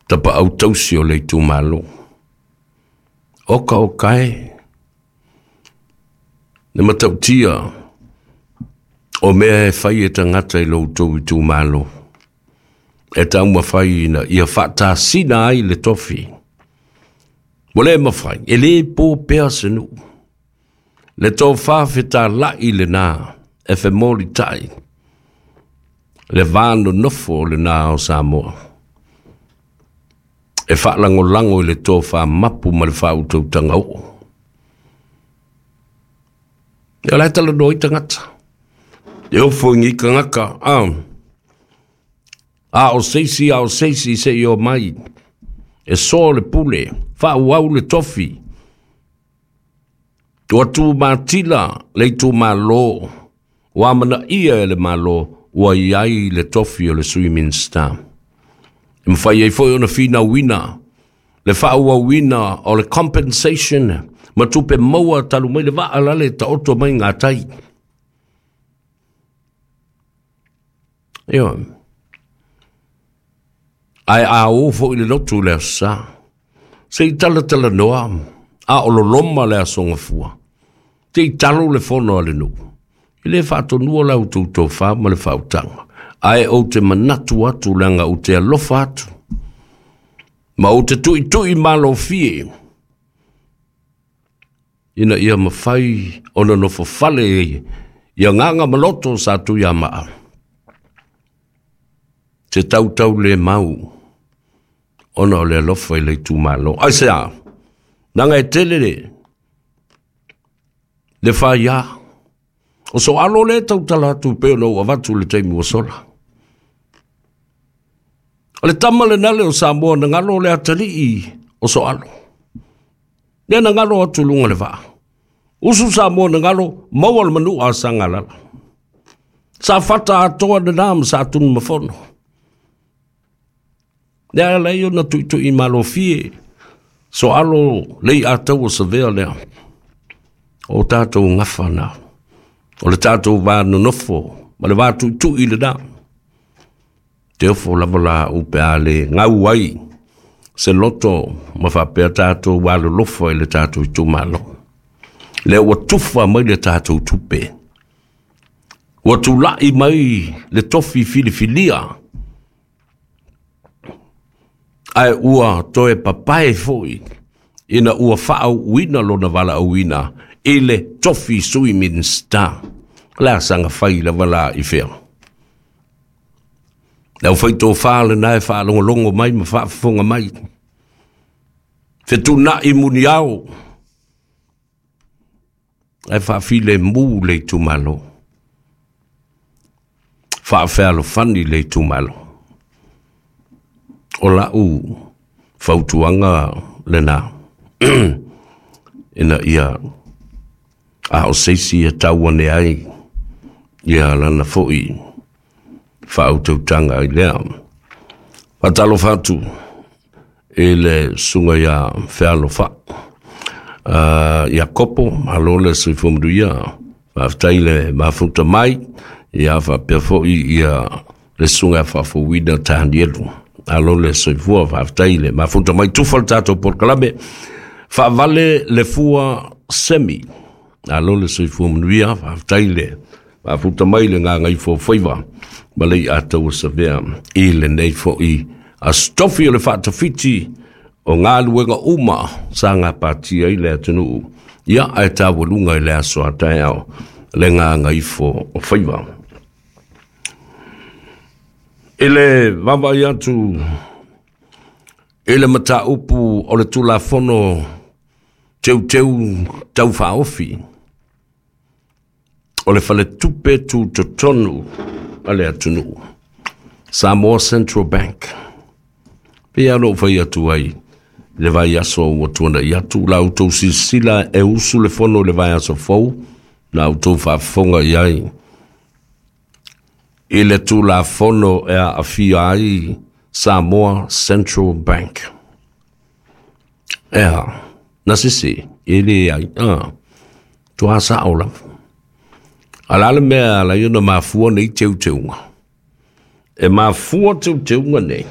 Tapaau tausi o le itumalo. Oka oka e, le matautia o mea e fai e tagata i lo outou itumalo, e taumafai ina ia faatasina ai le tofi. Ua le mafai, e le po pea se nuu. Le tofa fetalai lena e femolitai le va nonofo lena o Samoa. E faalagolago i le tofa mapu ma le faautautaga oo. Ia o la e talanoa ai tagata. E ofo i ni tagata, a o seisi, a o seisi se i o mai. E soa le pule, faaauau le tofi. Ua tumatila le itumalo, ua amanaia e le Malo ua i ai le tofi o le Sui Minisita. E mafai ai foi ona finauina le faaauauina o le compensation ma tupe maua talu mai le vaa lale taoto mai gatai. Ioe. Ae a o foi le lotu i le Aso Sa, se i talatalanoa a o loloma le Aso Gafua, te i talo le fono a le nuu. E le faatonua la outou tofa ma le faautaga, ae ou te manatu atu leaga ou te alofa atu, ma ou te tuitui malofie ina ia mafai ona nofofale i agaga ma loto o Satuiamaa. Se tautau le mau ona o le alofa i le itumalo. Aisea? Leaga e tele le faia. O Soalo lea e tautala atu pei ona ou avatu i le taimi ua sola. O le tama lena lea o Samoa na galo le atalii o Soalo. Lea na galo atu i luga o le vaa. Usu Samoa na galo, maua le manua a Sagalala. Sa fata atoa lena ma Satunumafono. Lea ala ai ona tuitui malofie Soalo lei ataua savea lea. O tatou gafa na. O le tatou va nonofo ma le va tuitui lena. Te ofo lava la au pe a le gau ai se loto ma faapea tatou alolofa i le tatou itumalo. Lea ua tufa mai le tatou tupe. Ua tulai mai le tofi filifilia ae ua toe papae foi ina ua faaauuina lona valaauina i le tofi Sui Minisita. O le a saga fai lava la i fea? Le aufaitofa lena e faalogologo mai ma faafofoga mai. Fetuunai muniao ae faafilemu le itumalo. Faafealofani le itumalo. O lau fautuaga lena ina ia a o se isi e tau ane ai ia lana foi faautautaga i lea. Faatalofa atu i le susuga ia Fealofa Iakopo, malo le soifua manuia, faafetai le mafuta mai, ia faapea foi ia le susuga ia Faafouina Tanielu. Malo le soifua, faafetai le mafuta mai, tufa le tatou polokalame. Faavale le fua semi. Malo le soifua manuia, faafetai le Faafuta mai le gagaifo faiva ma le iataua savea i lenei foi aso tofi o le faatafiti o galuega uma sa gapatia ai le atunuu ia ae taualuga i le aso a taeao le gagaifo o faiva. I le vaavaai atu i le mataupu o le Tulafono Teuteu Tau Faaofi, o le Faletupe Tutotonu a le atunuu, Samoa Central Bank. Pei lava ona ou fai atu ai i le vaiaso ua tuanai atu, la outou silasila e usu le fono i le vaiaso fou, na outou faafofoga i ai i le Tulafono e aafia ai Samoa Central Bank. E a, na sese, e leai, a, toa sao lava. A la le mea ala i ona mafua nei teuteuga. E mafua teuteuga nei.